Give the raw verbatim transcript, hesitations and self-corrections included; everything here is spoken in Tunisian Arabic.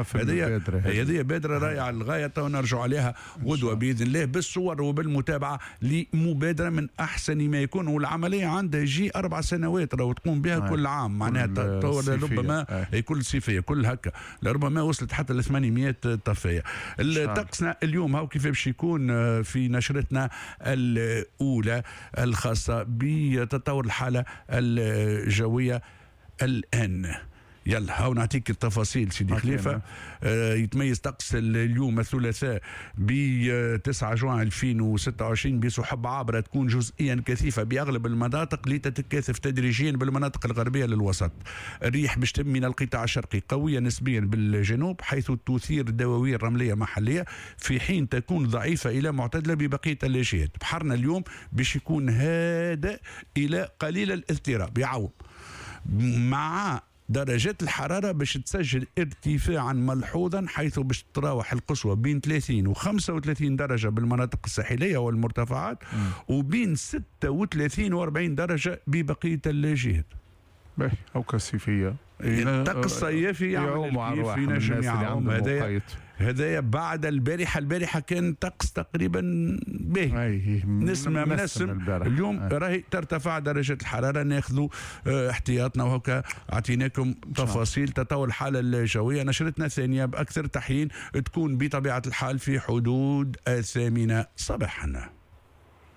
في المبادرة هذه بادره رائعة للغايه، تو نرجع عليها غدوه باذن الله بالصور وبالمتابعه لمبادرة من احسن ما يكون. والعملية عندها يجي اربع سنوات راهو تقوم بها آه. كل عام، معناها ربما كل صيفية كل هكا، لربما وصلت حتى ل ثمانمية طفايه. طقسنا اليوم هاو كيف باش يكون في نشرتنا الاولى الخاصة بتطور الحالة الجوية الان. يلا هاو نعطيك التفاصيل سيدي خليفة. آه يتميز طقس اليوم الثلاثاء ب تسعة جوان ألفين وستة وعشرين بسحب عابرة تكون جزئيا كثيفة باغلب المناطق لتتكاثف تدريجيا بالمناطق الغربية للوسط. الريح باش تم من القطاع الشرقي قوية نسبيا بالجنوب، حيث تثير دواوير رمليه محليه، في حين تكون ضعيفة الى معتدلة ببقية الجهات. بحرنا اليوم باش يكون هادئ الى قليل الاضطراب، يعوم مع درجات الحرارة باش تسجل ارتفاعا ملحوظا، حيث باش تراوح القصوى بين ثلاثين و خمسة وثلاثين درجة بالمناطق الساحلية والمرتفعات، وبين ستة وثلاثين و أربعين درجة ببقية الجهات. باهي، أو كالصيفية الطقس الصيفي يعمل كيف ينجم يعوم. هذايا هذايا بعد البارحة، البارحة كان طقس تقريبا باهي، نسمة منسم. اليوم راهي ترتفع درجة الحرارة، ناخذوا احتياطنا، وهكا اعطيناكم تفاصيل تطور الحالة الجوية. نشرتنا الثانية بأكثر تحيين تكون بطبيعة الحال في حدود الثامنة صباحا.